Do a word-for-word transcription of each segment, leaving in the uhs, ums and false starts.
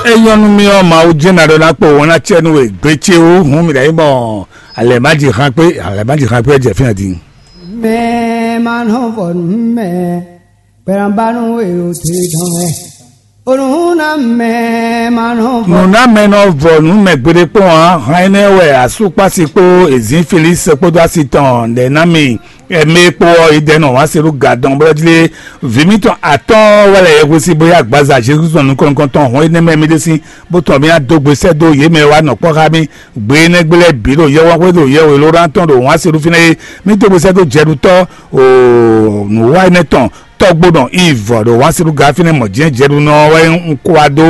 É nyɔ́ nú mì ɔ́, Mawu jɛ́n ná ɖɔ ná kpo wɔn ná cɛ nú we gbé ce wú, hǔn mǐ ná yi mɔ alɛ̌máji xan kpé, alɛ̌máji xan kpé jɛ fínɛ́ din. Mɛ ma nɔ vɔ nú mɛ, gbɛranbanu e o te dɔn wɛ. Onu na mɛ ma nɔ vɔ. Nǔ ná mɛ nɔ vɔ nǔ mɛ gbeɖé kpɔ́n ǎ, han énɛ́ wɛ asúkpási kpó ezǐn Felísi kpódó asi tɔn ɖɛ ná mì. Ɛmɛ kpó ɔ́, yi dɛ́ nɔ wǎn se ɖó gadɔn bó jlé vǐ mítɔn atɔ́ɔ́n wɛ lɛ yɛhwesin bó yá agbaza Jezu tɔn nukɔn nukɔntɔn hɔn énɛ́ mɛ mì ɖe sín, bó tɔn mì adó gbe sɛ́ dó yě mɛ wá nɔ kpɔ́ xá mì. Gbe énɛ́ gbe lɛ́ɛ bǐ ɖo yɛwánxwé ɖo yɛwelóɖán tɔn ɖo wǎn se ɖu fínɛ́ é, mì dó gbe sɛ́ dó jɛɖutɔ́ o nǔwa énɛ́ tɔn tɔ́gbó nɔ Iv ɖo wǎn se ɖu ga fínɛ́ mɔ̌ jɛ́n jɛɖunɔ wɛ un kó wá dó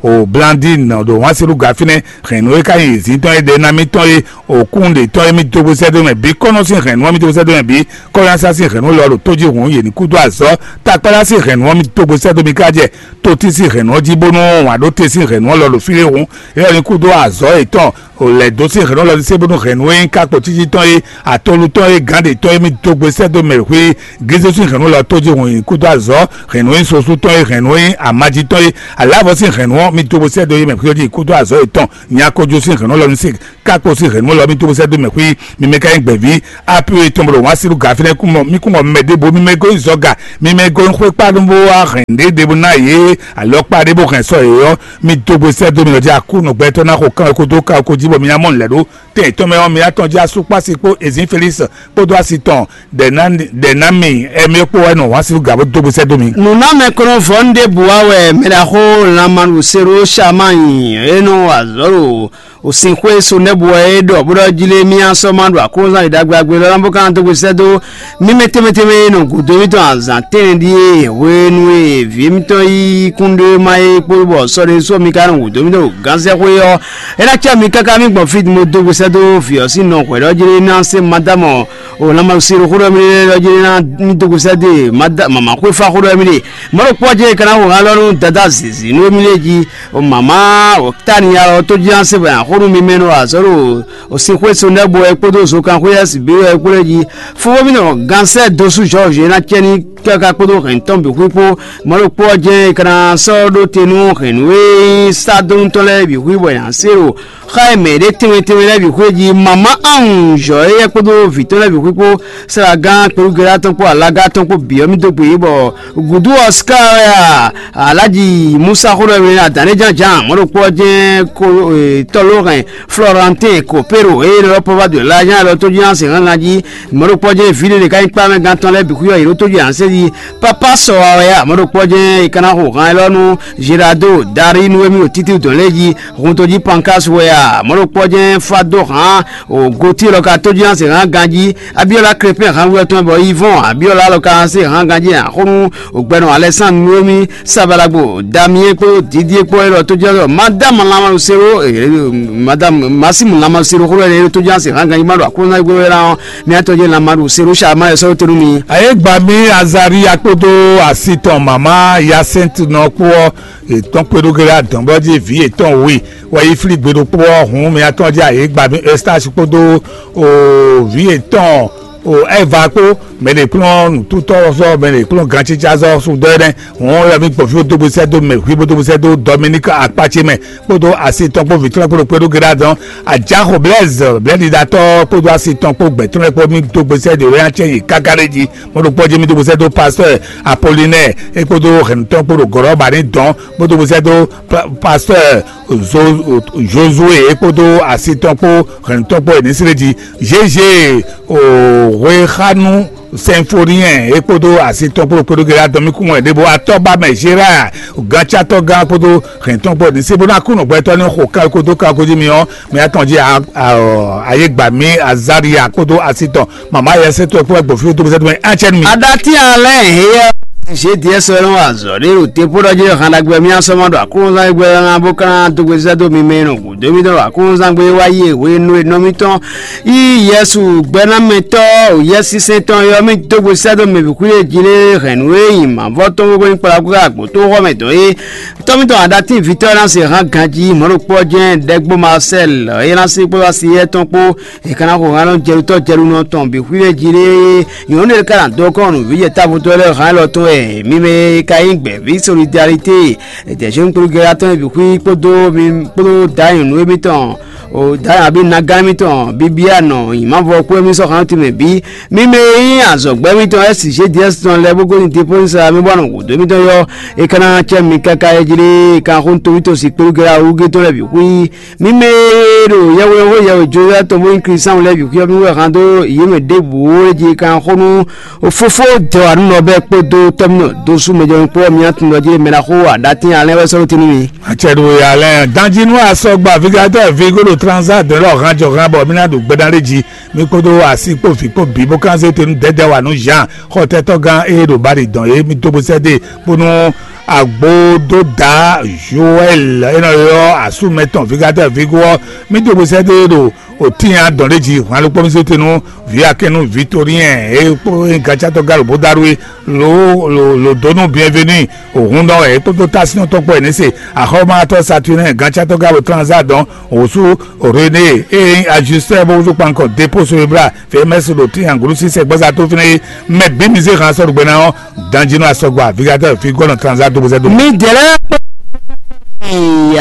o Blandin ɖo wǎn se ɖu ga fínɛ́. Hɛ̌nnu e ka nyí zǐn tɔn e ɖe ná mì tɔn é, òkúnɖe tɔn e mì dó gbe sɛ́ dó mɛ bǐ, kɔ́nɔ sín hɛ̌nnu ɔ́ mì dó gbe sɛ́ dó mɛ bǐ, kɔ́yánsá sín hɛ̌nnu lɔ ɖo tó jí hǔn yě ní kúdó azɔ̌, takpála sín hɛ̌nnu ɔ́ mì dó gbe sɛ́ dó mi ká jɛ, tótí sín hɛ̌nnu ɔ́ jí bónú wǎn ɖó te sín hɛ̌nnu ɔ́ lɔ ɖo fí ɖé hǔn, é ɔ́ ní kúdó azɔ̌ yětɔn, lɛ̌ dó sín hɛ̌nnu lɔ ní sé bónú hɛ̌nnu e nyí kákpo cíjí tɔn é, atolu tɔn é, gǎn ɖě tɔn é mì dó gbe sɛ́ dó mɛ xwé Jezu sín hɛ̌nnu lɔ tó jí hǔn yě ní kúdó azɔ̌, hɛ̌nnu e nyí sosú tɔn é, hɛ̌nnu e nyí amají tɔn é, alǎvɔ sín hɛ̌nnu ɔ́ mì dó gbe sɛ́ dó yě mɛ xwé jí kúdó azɔ̌ yětɔn, nyakojú sín hɛ̌nnu lɔ ní sé kákpo sín hɛ̌nnu lɔ mì dó gbe sɛ́ dó mɛ xwé. Mi mɛ ka nyí gbɛ̌ví apu e tɔn bɔ ɖo wǎn sín nú gǎ fínɛ́ kún mɔ mì kún mɔ mɛ ɖěbǔ, mi mɛ gɔ́ nyi zɔga, mi mɛ gɔ́ nyi xwé kpá ɖó bó wá hɛn ɖěɖě bó ná yě alɔkpa ɖé bó hɛn sɔ́ yě ɔ́, mi dó gbe sɛ́ dó mi lɔ jí akú nɔ gbɛtɔ́ ná xo kán ko dó ká ko jí bɔ mi ná mɔ nǔ lɛ́ɛ ɖó tɛn yětɔn mɛ ɔ́, mi ná tɔn jí asú kpó asi kpó ezǐn Felísi kpódó asi tɔn ɖɛ ná mi ɛmɛ kpó wɛ nɔ wǎn sín nú gǎ bó dó gbe sɛ́ dó mi. Nǔnámɛ kɔnɔvɔ́nu ɖěbǔ wá wɛ mɛ ɖaxó lanmanu Seroshama nyi, é nɔ wa azɔ̌ ɖo Osinxwé Sonɛ́bu wɛ é ɖɔ bó ɖɔ jlé mì asɔ́ ma ɖo aklúnɔzán ɖagbe agbe lɔ́ ná bó ka ná dó gbe sɛ́ dó mì mɛ tɛnmɛ tɛnmɛ e nɔ gǔdo mítɔn azǎn tɛ́nɛ ɖíe hwenu e vǐ mítɔn yí kúnɖéma é kpó bɔ sɔ́ ɖé sɔ́ mi ka nɔ gǔdo mítɔn ɖo gǎnsɛ́xwé ɔ́, é ná cá mi káká mì gbɔn fí din bó dó gbe sɛ́ dó vǐ ɔ́ sín nɔ hwɛ̌ ɖɔ jlé ná se Madámɔ o lanmanu Seroxóɖɔmɛ lɛ́ɛ ɖɔ jlé ná mì dó gbe sɛ́ dó mama xwéfá xóɖɔmɛ ɖe. Mɔ̌ ɖokpó ɔ́ jɛ́n è ka ná xo han lɔ nú Dadá zǐzí nú émí lɛ́ɛ jí. O mama o Tania ɔ́ tó jí ná se bɔ nǎ xo nú mi mɛ nɔ azɔ̌ ɖo o sin xwé so nɛ́ bo wɛ kpódó zokanxwé ɛ́ bǐ wɛ kpó lɛ́ɛ jí. Fofó mì nɔ gansɛ́ dosú Jɔ́ɔzi e ná cɛ ní káká kpódó hɛ̌n tɔn bǐ xwí kpó. Mɔ̌ ɖokpó ɔ́ jɛ́n è ka ná sɔ́ ɖó te nú hɛ̌nnu e nyí Sadónu tɔn lɛ́ɛ bǐ xwí bɔ è nǎ se ɖo xa e mɛ ɖě tɛnmɛ tɛnmɛ lɛ́ɛ bǐ xwé jí. Mama anwǔ zɔ̌ éyɛ́ kpódó vǐ tɔn lɛ́ɛ bǐ xwí kpó, Sɛ́lagán, Kpelúgelá tɔn kpó Alágá tɔn kpó bǐ ɔ́ mì dó gbe yě bɔ gǔdo ɔ́ ká wɛ a Alhaji Musa xó ɖɔ mɛ adǎn jánján mɔ̌ ɖokpó ɔ́ jɛ́n ko tɔ́lóhɛn Florentine Copero eye ɖɔ pɔ́ vá dǒ lá ján ɖɔ tó ján se hángan jí. Mɔ̌ ɖokpó ɔ́ jɛ́n vǐ ɖé ɖě ká nyí kpámɛgán tɔn lɛ́ɛ bǐ xwí ɔ́ yě ɖó tó ján sɛ́ jí. Papa sɔ wa wɛ a mɔ̌ ɖokpó ɔ́ jɛ́n è ka ná xo han élɔ́ nú Gerardo Dari nú émí ɖo títídɔn lɛ́ɛ jí. Hun tó jí Pankas wɛ a mɔ̌ ɖokpó ɔ́ jɛ́n fá dó hǎn o gotí lɔ ka tó jí hán se hán ganjí. Abíɔ́lá Krépin hán wú ɔ́ tɔn bɔ Yivɔn Abíɔ́lá lɔ ka hán se hán ganjí hán xó nú ògbɛnɔ Alɛsándru Nuwémi Sabalagbo Damiyɛn kpó Didie kpó élɔ́ tó jɛ́ ɖɔ Madame Lamasero Madame Masimu Lamasero xó lɔ tó jɛ́ hán se hán ganjí má ɖo aklúnɔ́gbé wɛ ná ɔ́. Mía tɔn jɛ́n Lamasero Salma ɛ sɔ́ tó nú mi. Ayé gbà mí Azaria kpódó asi tɔn màmá Yasɛntu nɔ kpó ɔ́, yě tɔ́n kpé ɖó gé ɖo adɔ̌ngbɔ́ jí vǐ yětɔn we wɛ yi flí gbe ɖokpó ɔ́ hǔn mɛ atɔ́ jí ayǐ gba mì Ɛstási kpódó o vǐ yětɔn o Ɛva kpó mɛ ɖě kplɔ́n nǔtútɔ́ sɔ́ mɛ ɖě kplɔ́n gancícázɔ́ sudɔ́ ɛnɛ́ hǔn wɛ mì gbɔn fí bó dó gbe sɛ́ dó mɛ hwí bó dó gbe sɛ́ dó Dɔminík akpácé mɛ kpódó asi tɔn kpó vǐ tɔn kpó ɖokpó ɖó gé ɖo adɔ̌n Ajáxo Blɛ́z blɛ̌ɖiɖatɔ́ kpódó asi tɔn kpó gbɛ̌ tɔn lɛ́ɛ kpó mì dó gbe sɛ́ ɖě wɛ ná cɛ nyi káká ɖé jí. Mo ɖo kpɔ́ jí mì dó gbe sɛ́ dó pastɔ́ Apolinɛ́ɛ é kpódó hɛ̌nnutɔ́ kpó ɖo gɔ̌ɖɔ́ ba ní dɔn bó dó gbe sɛ́ dó pastɔ́ Josué é kpódó asi tɔn kpó hɛ̌nnutɔ́ kpó Enisrédi, Zézé Hwexánu Sinfoniyɛn é kpódó asi tɔn kpó kpódó gɛlɛ adɔn mi kún wɛ ɖěbó atɔ́ ba mɛ Zéra gancátɔ́ gán kpódó hɛ̌ntɔn kpó ní se bó ná kú nǔgbɛtɔ́ ní xo kan kódó kan kódó mi ɔ́ mi atɔn jí ayé gbà mí Azaria kpódó asi tɔn mama yɛ sɛtɔ kpó gbɔ fi tó sɛtɔ mɛ atsɛ mi. Adati alɛ heyɛ zediɛ sɔlɔ azɔ de o te po dɔ je han dagbe mi asɔmɔ do akulunzan egbe na bo kana dogbe zɛ do mi mɛ no gudo mi do akulunzan gbe wa ye we no enɔ mi tɔn. Yi Yesu gbɛnamɛtɔ o yɛsisɛntɔ yɔ mi dogbe sɛ do mɛ bi kuli jile hɛn we yi ma vɔ tɔn gbogbo ni kpla gbogbo agbo to xɔ mɛ dɔ ye. Tɔmi tɔn adati vitɔ na se han ganji mɔɖokpɔ jɛ dɛgbo Marcel ye na se kpɔ asi yɛ tɔn kpó. È ka ná xo hɛn nɔ jɛɖutɔ́ jɛɖunɔ tɔn bǐ xwíɖé jí ɖé. Nyɔ̌nu ɖé ka ná dó kɔn nǔ vǐ jɛ távo tɔn lɛ́ɛ hɛn lɔ tɔn wɛ Ɛ, mi mɛ e ka nyí gbɛ̌ví solidarité, dɛ̌nzɔ́n kplɔ́ngbɛ́ atɔn e bǐ xwí kpódó mi kpódó dǎ nyɔ̌nu émítɔn, o dǎ nyɔ̌nu abí nagán émítɔn, bíbí anɔ nyǐmávɔ kú émí sɔ́ xán tɔn mɛ bǐ. Mi mɛ e nyí azɔ̌gbɛ́ émítɔn S G D S tɔn lɛ́ɛ bó gosín Depɔ́nisa mi bɔ anɔ gǔdo émítɔn yɔ, é ka ná cɛ mi káká é jlé, é ka xó nú toví tɔn si kplɔ́ngbɛ́ awúgé tɔn lɛ́ɛ bǐ xwí. Mi mɛ e ɖo yɛhweɖɛhwe yɛhwe Jozɛ́fu tɔn bó nyí Klísáwun lɛ́ɛ bǐ xwíxwɛ́ mì wɛ han dó yě mɛ ɖěbǔ é jí kan xó nú Fofó dɛwanúnɔ bɛ́ kpódó tɔ́mínɔ dó sú mɛjɔnukpɔ́ mì atundɔ jí mɛ ná xó aɖatín alɛ́n wɛ sɔ́ ɖó te nú mi. Acɛ ɖo ya lɛ́ɛ danjí nú asɔgba vigatɔ vigo ɖo transa dɔn lɔ han jɔ han bɔ mí ná ɖo gbɛdán lé jí. Mí kpódó asi kpó vǐ kpó bǐ bó kán zé te nú dɛdɛ wa nú Jean xɔtɛtɔ́gán e ɖo Bali dɔn é mí dó bó sɛ́ dó e kpó nú Agbododa Joel e nɔ ylɔ́ asú mɛtɔn vigatɔ vigo ɔ́, mí dó bó sɛ́ dó e ɖo òtín adɔn ɖé jí hwan ɖokpó mí zé te nú vǐ akɛ́nú Victorien e kpó e gacátɔ́ galo bó dó aɖú é lo lo lo dó nú Bienvenu òhun nɔ wɛ é kpódó tásínɔ́ tɔn kpó ɛ ní se axɔ́mátɔ́ Saturnin gacátɔ́ galo transa dɔn òsú René e nyí ajustɛ́ bó wúzú kpankɔ dépó so e blá Fɛmɛsi ɖo tín anglusi sɛgbɔza tó fínɛ́ é mɛ bǐ mi zé han sɔ́ ɖo gbɛ ná ɔ́, danjínú asɔgba vigatɔ fi gɔnɔ tranza dó bozɛ dó. Mi dɛlɛ kpɔ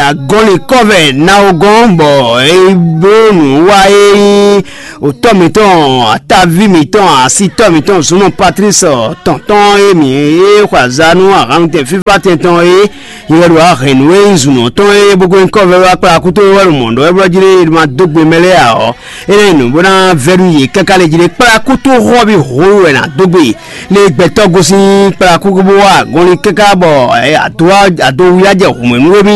agɔnli kɔvɛ na o gɔn bɔ e bló nǔ wa e nyí òtɔ mǐtɔn, ataví mǐtɔn, asitɔ mǐtɔn zunɔ Patrice tɔntɔn e mǐ e xɔ azá nú ahan tɛn fífá tɛn tɔn e yɛ ɖo ahɛ̌nnu e nyí zunɔ tɔn e bó gɔn kɔvɛ wá kplá kútó wɛ ɖo mɔ̌ ɖɔ wɛ blɔ jí ɖe ma dó gbe mɛ lɛ́ɛ ǎ ɔ́, é ná nyí nǔ bó ná vɛ́ nú yě káká lě jí ɖé kplá kútó xɔ́ bí hǒ wɛ ná dó gbe. Lě gbɛtɔ́ gosín kplá kúkú bó wá gɔnlin káká bɔ ado ado wíyá jɛ hǔnmɛ nú émí.